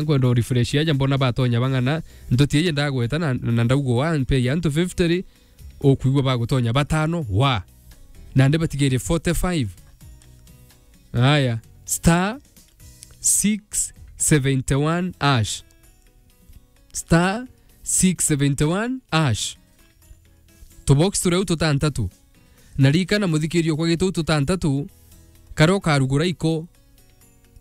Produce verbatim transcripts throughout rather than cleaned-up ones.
nkwenda u refresh aja mbona batonya bang'ana, ntuti iji ndagweta na, na ndauga wa, mpe ya antu fifty ri, ukwigua bagutonya batano, wa. Nandi batigire forty-five. Aya, star six seventy-one hash. Star six seventy-one hash. Tubox turia u tutantatu. Na ririkana, muthikiria, kwa gitu tutantatu, karia ukarugura iko.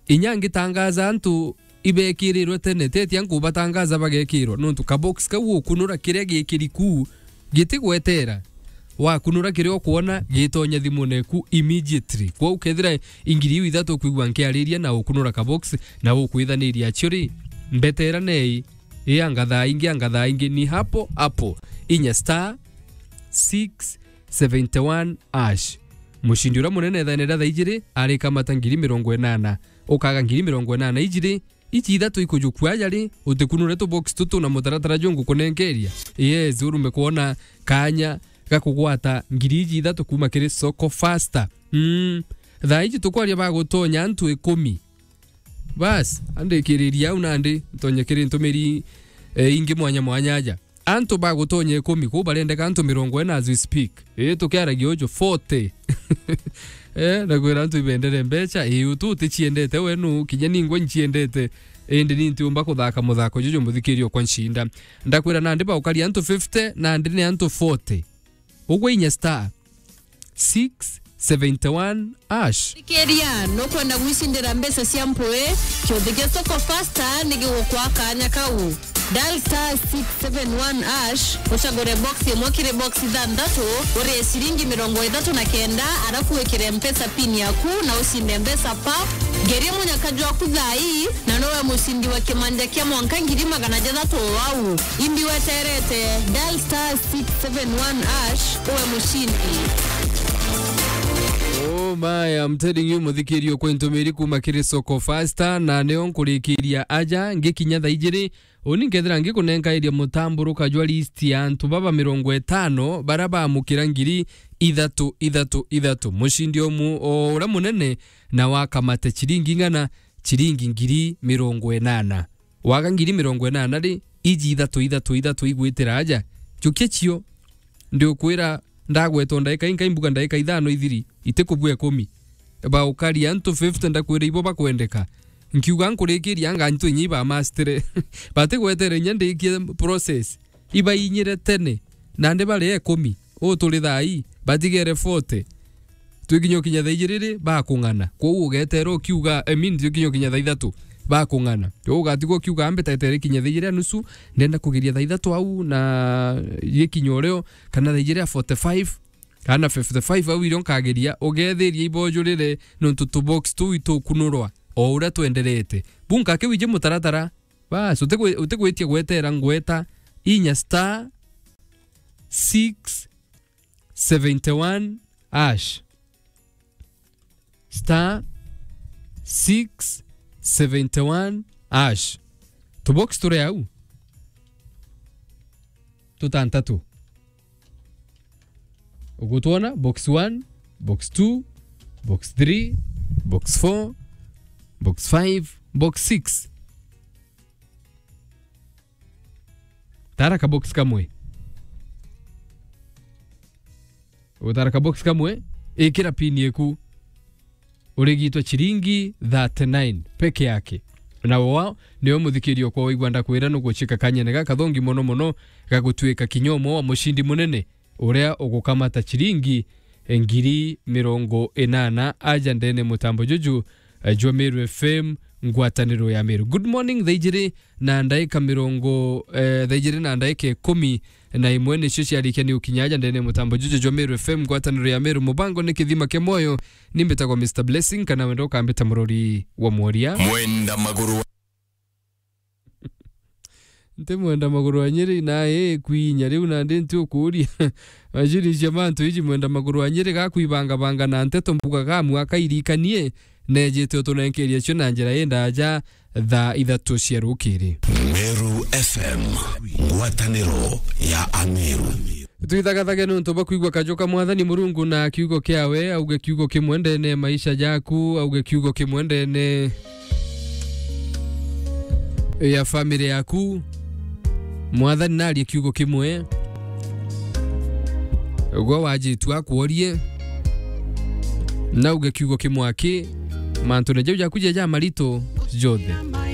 Inya ngitangaza antu ibekirirwe tene, tetia nkubatangaza bagekirwa, nontu kabox kau ukunura kiria gikiri ku gitigwetera. Wakunura kiria ukwona gitonya thimune ku immediately. Kwou kethira ingiri iu ithatu ukwigua nkiariria na ukunura kabox na ukwithaniria acio ri, mbetera nei, ii anga thaa ingi, anga thaa ingi, ni hapo hapo. Inya star six seventy-one hash. Mucindi uria munene ithaene ria thaa ijiri arikamata ngiri mirongo inana. Ukaga ngiri mirongo inana ijiri, iji ithatu ikujukua aja ri, utikunure tubox tutu na mutaratara jungukunenkeria. Yes, urume kwona kanya ga kugwata ngiri iji ithatu kuma kiri Soko Faster. Mm. Thaa iji tukwaria bagutonya antu ikumi. Bas, andikiriria au nandi ntonye kiri ntumiri, eh, ingi mwanya mwanya aja. Antu bagutonya ikumi, kuu barendeka antu mirongo ina as we speak. Ii, tukiaragia uju, forty. Eh, na kwira antu ibendere mbecha, ii, utu uticiendete we nu, kinya ningwa nciendete. Indi ni ntiumba kuthaka muthako juju, muthikiria okwa ncinda. Ndakwira nandi baukaria antu fifty, nandi ni antu forty. Ugwe inya star six seventy-one hash. Thikiria, nukwenda gwicindira mbeca cia mpui? Kiuthi gia Soko Faster ni gigukwa kanya kau. Dial star six seven one hash, ucagure box imwe kiri box ithanthatu, urie ciringi mirongo ithatu na kenda, arafu wikire Mpesa pin yaku na ucinde mbeca pap. Ngeria munyaka jwaku thaa ii, na nowe mucindi wa kimanja kia mwanka ngiri magana jathatu o au. Imbi weterete, dial star six seven one hash, uwe mucindi. Oh my, I'm telling you, muthikirio kwi ntumiri kuma kiri Soko Faster, na nio nkurikiria aja, ngikinya thaa ijiri, uni nkethira ngikunenkairia mutamburuka jwa list ya antu baba mirongo itano bara bamukira ngiri ithatu, ithatu, ithatu. Mucindi umu o uria munene na wakamate ciringi ng'ana, ciringi ngiri mirongo inana. Waga ngiri mirongo inana ri, iji ithatu, ithatu, ithatu igwitira aja. Jukia cio, ndiukwira ndagwetwa ndaika inkai mbuga ndaika ithano ithiri, itikubua ikumi. Baukaria antu fifty ndakwira ibo bakwendeka. Nkiuga nkurikiria anga antu inya ibamastire. Batigwetere inya ndikie process. Ibainyire tene, nandi bari ikumi. Uu turi thaa ii, batigere forty. Twikinya ukinya thaa ijiri ri, bakung'ana. Kwou ugetera ukiuga, I mean, twikinya ukinya thaa ithatu, bakung'ana. Kwou ugatigwa ukiuga, "Ambe taetere ikinya thaa ijiri a nusu, ndenda kugeria thaa ithatu au, na gikinya urio, kana thaa ijiri a forty-five, kana fifty-five au irio nkageria," ugethiria ibojurire, nontu tubox tuu itukunurwa o uria twenderete. Bunka kiu iji mutaratara, Bas, utigwi-, utigwitia gwetera ngweta inya star six seventy-one hash. Star six seventy-one hash. Tubox turi au. Tutantatu. Ugutwona box one, box two, box three, box four, box five, box six. Tara ka box kamwe. Ugutara ka box kamwe, ikira pin yeku. Urigitwe ciringi thirty-nine peke yake. Na wao nio muthikirio kwa waigua ndakwira nugucika kanyene gakathongi mono mono ga gutuika kinya umwe wa mucindi munene uria ugukamata ciringi ngiri mirongo inana aja ndene mutambo juju, eh, jwa Meru F M, ngwataniro ya Meru. Good morning, thaa ijiri na ndaika mirongo, eh, thaa ijiri na ndaika ikumi na imwe nicio ciarikia ni ukinya aja ndene mutambo juju jwa Meru F M, ngwataniro ya Meru. Mubango ni kithima kia mwoyo, ni mbitagwa Mister Blessing, kana wenda ukambita murori wa mworia. Mwenda maguru. Nti mwenda maguru wa Nyeri, na ii kwinya riu nandi nti ukuria. Macini cia mantu iji mwenda maguru wa Nyeri gakwibangabanga na nteto mbuga ga mwaka irikanie, nejite utunenkeria cio na njira indaja thaa ithatu cia rukiri. Meru F M, ngwataniro ya Ameru. Twithagathaga nontu bwa kwigua kajo ka Mwathani Murungu na kiugo kiawe, auge kiugo kimwe ndene ya maisha jaku, auge kiugo kimwe ndene ya family yaku, Mwathani narie kiugo kimwe. Gwe wajitua akworie, nauge kiugo kimwe aki, mantune jau jaku ja, ja marito jonthe.